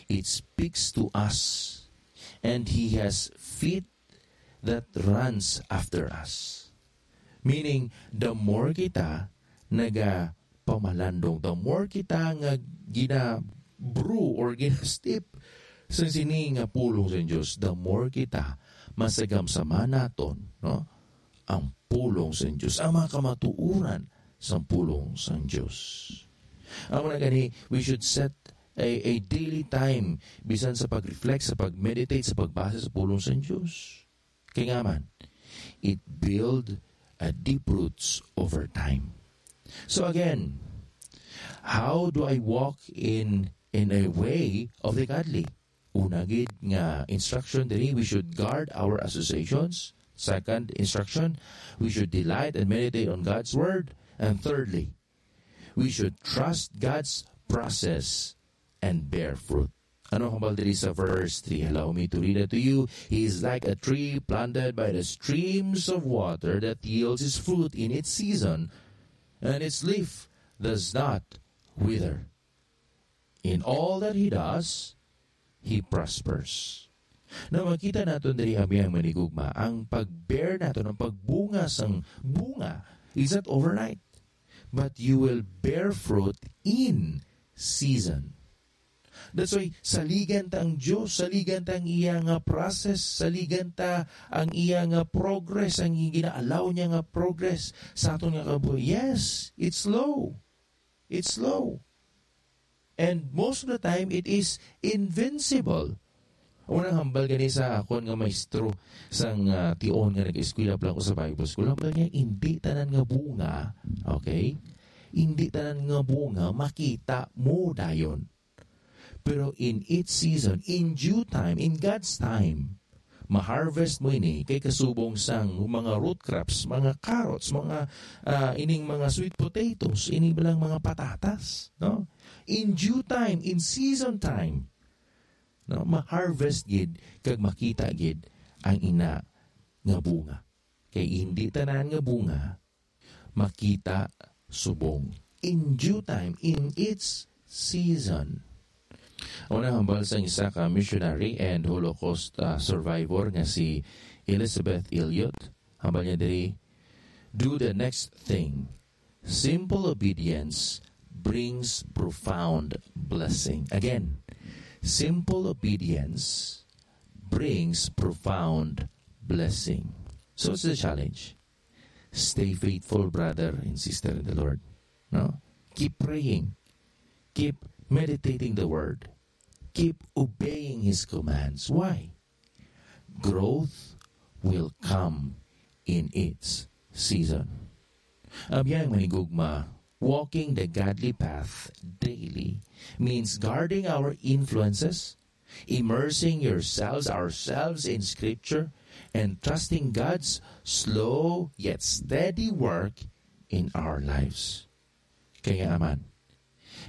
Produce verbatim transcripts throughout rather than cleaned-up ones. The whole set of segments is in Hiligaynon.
It speaks to us, and He has feet that runs after us. Meaning, the more kita nagapamalandong, the more kita nga ginabro or ginastip sa sini nga pulong sa Dios, the more kita masagamsama naton, no? Ang pulong sa Dios, ang mga kamatuoran sa pulong sa Dios. Amo na gani, we should set a, a daily time, bisan sa pag-reflect, sa pag-meditate, sa pagbasa sa pulong sa Dios. Kay nga man, it build a deep roots over time. So again, how do I walk in, in a way of the godly? Una gid nga instruction diri, we should guard our associations. Second instruction, we should delight and meditate on God's word. And thirdly, we should trust God's process and bear fruit. Ano hambal diri sa verse three? Allow me to read it to you. "He is like a tree planted by the streams of water that yields its fruit in its season, and its leaf does not wither. In all that he does, he prospers." Now, makita naton diri, abiyang manigugma, ang pag-bear naton, ang pagbunga sang bunga, is not overnight, but you will bear fruit in season. That's why, saligan ta ang Dios, saligan ta ang iya nga process, saligan ta ang iya nga progress, ang gina-allow niya nga progress sa aton nga kabuhi. Yes, it's slow. It's slow. And most of the time, it is invincible. Unang hambal gani sa akon nga maestro sang, ah, tion nga nag-eskwela pa lang ko sa Bible School, hambal niya, "Hindi tanan nga bunga," okay? "Hindi tanan nga bunga makita mo dayon. Pero in its season, in due time, in God's time, ma-harvest mo ini kay kasubong sang mga root crops, mga carrots, mga, ah, ining mga sweet potatoes, ini ba lang mga patatas, no? In due time, in season time, no? Ma-harvest gid kag makita gid ang ina nga bunga. Kay hindi tanan nga bunga makita subong. In due time, in its season. Una hambal sang isa ka missionary and Holocaust, ah, survivor nga si Elizabeth Elliot. Hambal niya diri, "Do the next thing. Simple obedience brings profound blessing." Again, simple obedience brings profound blessing. So what's the challenge? Stay faithful, brother and sister in the Lord. No? Keep praying. Keep meditating the word. Keep obeying his commands. Why? Growth will come in its season. Abiyang manigugma, walking the godly path daily means guarding our influences, immersing yourselves, ourselves in Scripture, and trusting God's slow yet steady work in our lives. Kaya man,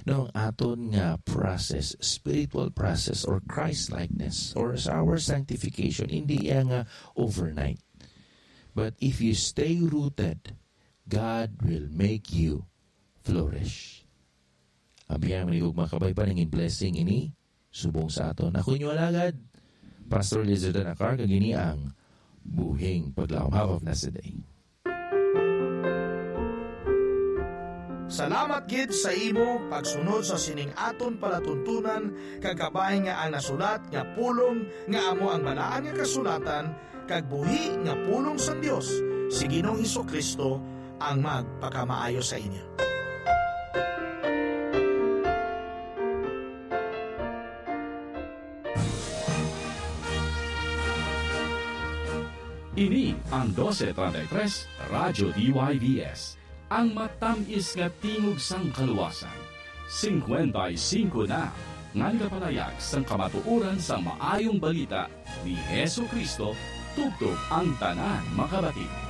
no, ang aton nga process, spiritual process, or Christ-likeness, or sa our sanctification, hindi iya nga overnight. But if you stay rooted, God will make you flourish. Abiyang manigugma, kabay pa nangin blessing ini subong sa aton. Ako inyo alagad, Pastor Lizard Anacar, kag ini ang Buhing Paglaom. Have a blessed day. Salamat gid sa imo pagsunod sa sining aton palatuntunan, kag kabay nga ang nasulat nga pulong nga amo ang Balaan nga Kasulatan kag buhi nga pulong sang Dios si Ginoong Jesu-Cristo ang magpakamaayo sa inyo. Ini ang doce treinta y tres Radyo D Y V S, ang matamis nga tingog sang kaluwasan. Singkwenta y singko na nga nagapalayag sang kamatuoran sang Maayong Balita ni Jesu-Cristo, tubtob ang tanan makabati.